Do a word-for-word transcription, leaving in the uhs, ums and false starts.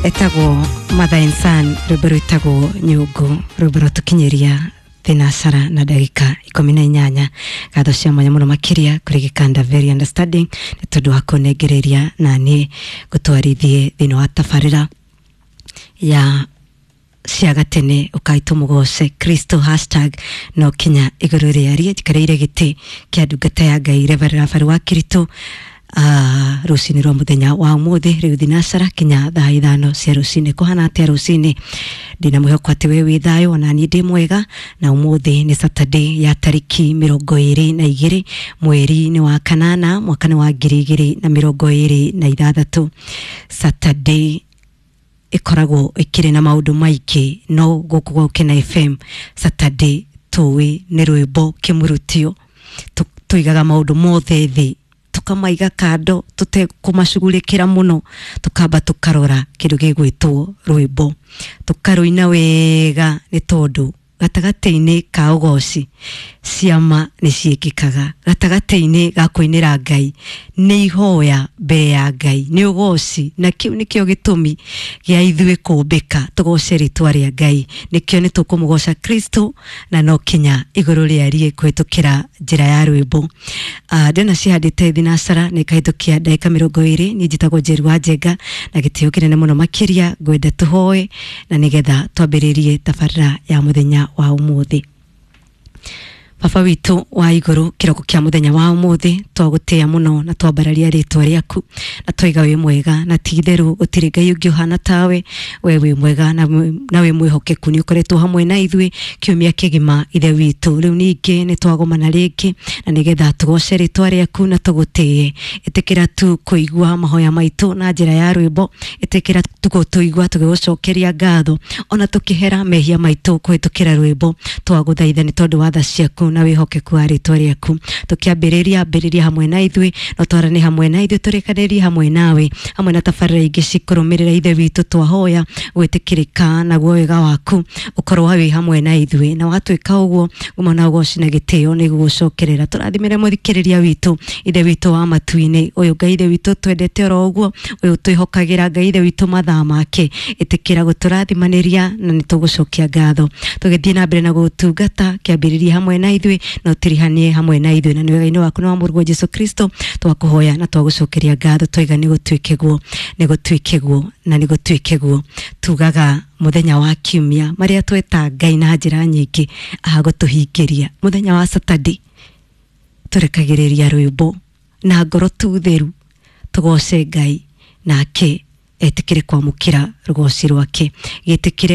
Etagwo Mother and Son, rwĩmbo rwĩtagwo Nyũngũ, rwĩmbo rwatũkinyĩria thinasara na ndagĩka ikũmi na inyanya. Ngatho cia mwanya mũno makĩria kũrĩ gĩkanda very understanding nĩ tondũ wa kũnengereria na niĩ ngũtwarithie thĩinĩ wa tabarĩra ya cia gatene ũkaitũ mũgoce Kristo hashtag no kinya igũrũ rĩarie. Njikarĩire gĩtĩ kĩa ndungata ya Ngai Reverend Rafael wa Kirito uh, rũcinĩ rwa mũthenya wa ũmũthĩ rĩu thinacara kinya thaa ithano cia rũcinĩ. Kũhana atĩa rũcinĩ? Ndĩna mwĩhoko atĩ we wĩ thayũ, ona niĩ ndĩ mwega. Na ũmũthĩ nĩ Saturday ya tarĩki mĩrongo ĩrĩ na igĩrĩ mweri-inĩ wa kanana mwaka nĩ wa ngiri igĩrĩ na mĩrongo ĩrĩ na ithathatũ. Saturday ĩkoragwo ĩkĩrĩ na maũndũ maingĩ, no gũkũ gwa Gũkena F M Saturday tũĩ nĩ rwĩmbo kĩmũrutio. Tũigaga maũndũ mothe thĩ, tukamaiga kando tutekũmacugurĩkĩra mũno, tukamba tukarora kĩndũ gĩgwĩtwo rwĩmbo, tukarũina wega nĩ tondũ gatagatĩ-inĩ ka ũgoci ciama nĩ ciĩkĩkaga, gatagatĩ-inĩ ga kũinĩra Ngai nĩ ihoya mbere ya Ngai nĩ ũgoci, na kĩu nĩkĩo gĩtũmi gĩa ithuĩ kũmbĩka tũgoce rĩtwa rĩa Ngai. Nĩkĩo nĩ tũkũmũgoca Kristo na no kinya igũrũ rĩarie kũhĩtũkĩra njĩra ya rwĩmbo. Uh, ndĩna cihandĩte thinacara nĩ ikahĩtũkia ndagĩka mĩrongo ĩrĩ. Niĩ njĩtagwo Njeri wa Njenga na gĩtĩo kĩnene mũno makĩria ngwenda tũhoe na nĩgetha twambĩrĩrie tabarĩra ya mũthenya wa ũmũthĩ. Baba witũ wa igũrũ, kĩroko kĩa mũthenya wa ũmũthĩ twagũtĩĩa mũno na twambararia rĩtwa rĩaku na twaiga wĩ mwega, na ti itherũ gũtirĩ Ngai ũngĩ ũhana tawe. We wĩ mwega na wĩ mwĩhokeku, nĩ ũkoretwo hamwe na ithuĩ kiumia kĩgima Ithe witũ. Rĩu ningĩ nĩ twagomana rĩngĩ na nĩgetha tũgoce rĩtwa rĩaku na tũgũtĩĩe. Ĩtĩkĩra tu kũigua mahoya maitũ na njĩra ya rwĩmbo, ĩtĩkĩra tu gũtũigua tũgĩgũcokeria ngatho ona tũkĩhera mehia maitũ kũhĩtũkĩra rwĩmbo. Twagũthaitha nĩ tondũ wa tha ciaku na wĩhokeku wa rĩtwa rĩaku. Tũkĩambĩrĩria ambĩrĩria hamwe na ithuĩ, no twarane hamwe na ithuĩ, tũrĩkanĩrie hamwe nawe hamwe na tabarĩra ingĩ cikũrũmĩrĩra Ithe witũ. Twahoya gwĩtĩkĩrĩka naguo wega waku ũkorwo wĩ hamwe na ithuĩ, na watwĩka ũguo uma na ũgoci na gĩtĩo nĩ gũgũcokerera. Tũrathimĩre mũthikĩrĩria witũ Ithe witũ wa matu-inĩ ũyũ, Ngai Ithe witũ twendete oro ũguo, ũyũ twĩhokagĩra Ngai Ithe witũ mathaa make. Ĩtĩkĩra gũtũrathimanĩria na nĩ tũgũcokia ngatho tũgĩthiĩ na mbere na gũtungata. Kĩambĩrĩria hamwe na ithuĩ na ũtirihanie hamwe na ithuĩ, na nĩ wega-inĩ waku na wa Mũrũguo Jesu Kristo twakũhoya na twagũcokeria ngatho twaiga nĩ gũtuĩke guo, nĩ gũtuĩke guo na nĩ gũtuĩke guo. Tugaga mũthenya wa kiumia marĩa tweta Ngai na njĩra nyingĩ agũtũhingĩria. Mũthenya wa Saturday tũrekagĩrĩria rwĩmbo na ngoro tu theru tũgoce Ngai nake etĩkĩre kwamũkĩra rũgoci rwake. Gĩtĩkĩre.